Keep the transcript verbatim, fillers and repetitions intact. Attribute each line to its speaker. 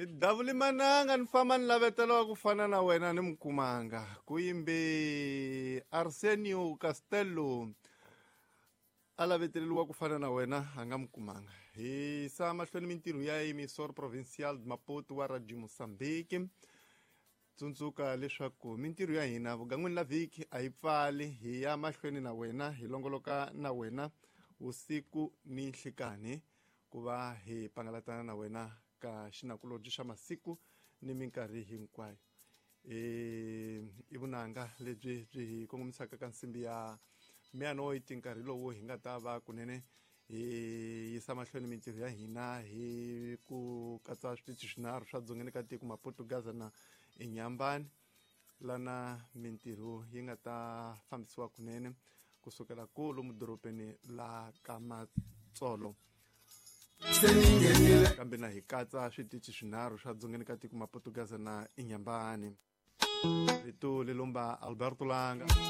Speaker 1: Ni davuli mananga ni famba ni lavetela ku fana na wena ni mukumanga ku yimbe Arsenio Castello a laveteleriwa ku fana na wena a nga mukumanga. Hi sa mahlweni mintirho ya Emissor Provincial de Maputo wa Radio Mozambique. Tsundzuka leswaku mintirho ya hina vugan'wini la vhiki a yi pfali, hi ya mahlweni na wena, hi longoloka na wena vusiku ni nhlikani ku va hi pangalatana na wena ka xinakulobye xa masiku ni minkarhi hinkwayo. E i vunanga lebyi byi hi kongomisaka ka nsimbi ya meia-noite, nkarhi lowu hi nga ta va kunene hi yisa mahlweni mintirho ya hina hi ku katsa switichi swinharhu swa dzongeni ka tiko, Maputo, Gaza na Inyambani, lana mintirho yi nga ta fambisiwa kunene kusukela kulu mudorobeni la ka Matsolo, kambe na hi katsa switichi swinharhu swa dzongeni ka tiko, Maputo, Gaza na Inyambani. Rito lelomba Alberto Langa.